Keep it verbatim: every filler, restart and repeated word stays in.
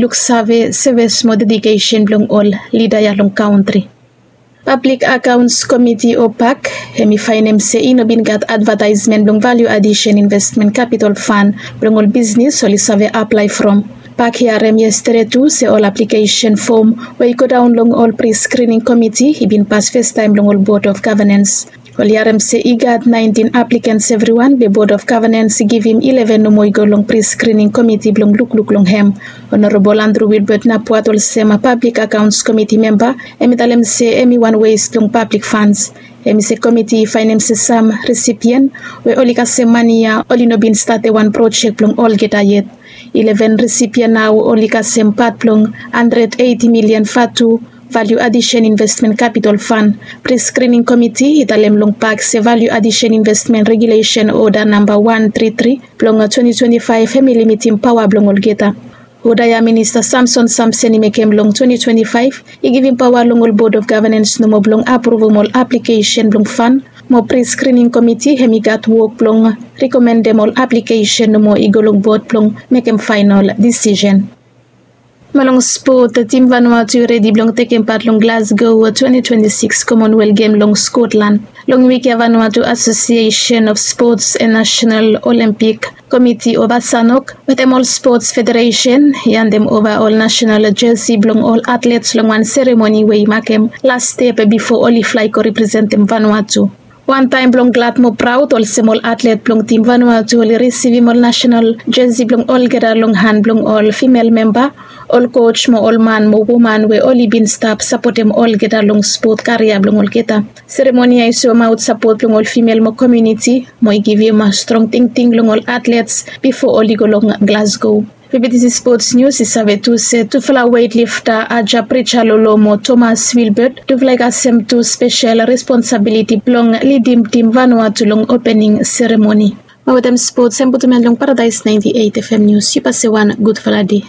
luksave sevis mo dedikesen blong ol lida ya long kantri. Pablik akaons komiti o pak hem i faenem se i no bin gat advataesmen blong valiu adisen investmen kapitol fan blong ol bisnis oli save aplae from. Pak i harem yestede tu se ol aplikesen fom we i godaon long ol priskrining komiti i bin pas festaem long ol bod of gavanens. Oli harem se i gat naentin aplikens evriwan be bod of gavanens i givim ileven nomo i go long priskrining komiti blong lukluk long hem. Onorabol Andrew Wilbert Napuat olsem pablik akaons komiti memba hem i talem se hem i wan wes blong pablik fans. Hem i se komiti i faenem se sam risipien we oli kasem mane ya oli no bin stap wan projek blong olgeta yet. Ileven risipien nao oli kasem pat blong handred eiti milian vatu valiu adisen investmen kapitol fan. Priskrining komiti i talem long pak se valiu adisen investmen regulesen oda namba wan tri tri blong twenti twenti faef hem i limitim paoa blong olgeta. Oda ya minista Samson Samsen i mekem long twenti twenti faef i givim paoa long ol bod of gavanens nomo blong apruvum ol aplikesen blong fan mo priskrining komiti hem i gat wok blong rikomendem ol aplikesen nomo i go long bod blong mekem faenol disisen. Mo long spot, tim Vanuatu i redi blong tekem pat long Glasgow twenti twenti sikis Commonwealth Gem long Skotlan. Long wik ya Vanuatu Asosiesen of Spots and Nasenal Olempik Komiti o VASANOC wetem ol spots federesen i handem ova ol nasenal jesi blong ol atlets long wan seremoni we i makem las step bifo oli flae go representem Vanuatu. Wantaem blong glad mo praod olsem ol atlet blong tim Vanuatu oli risivim ol nasenal jesi blong olgeta long han blong ol fimel memba, ol koj mo ol man mo woman we oli bin stap sapotem olgeta long spot karia blong olgeta. Seremoni ya i soemaot sapot blong ol fimel mo komuniti mo i givim strong tingting long ol atlets bifo oli go long Glasgow. Fifty Spots News i save tu se tufala weightlifter Aja Prichalolo mo Thomas Wilbert tufala i kasem tu spesel responsabiliti blong lidim tim Vanuatu long opening seremoni. Mo wetem spots hem putum en long Paradise ninety-eight F M News. Yu pase wan gudfala dei.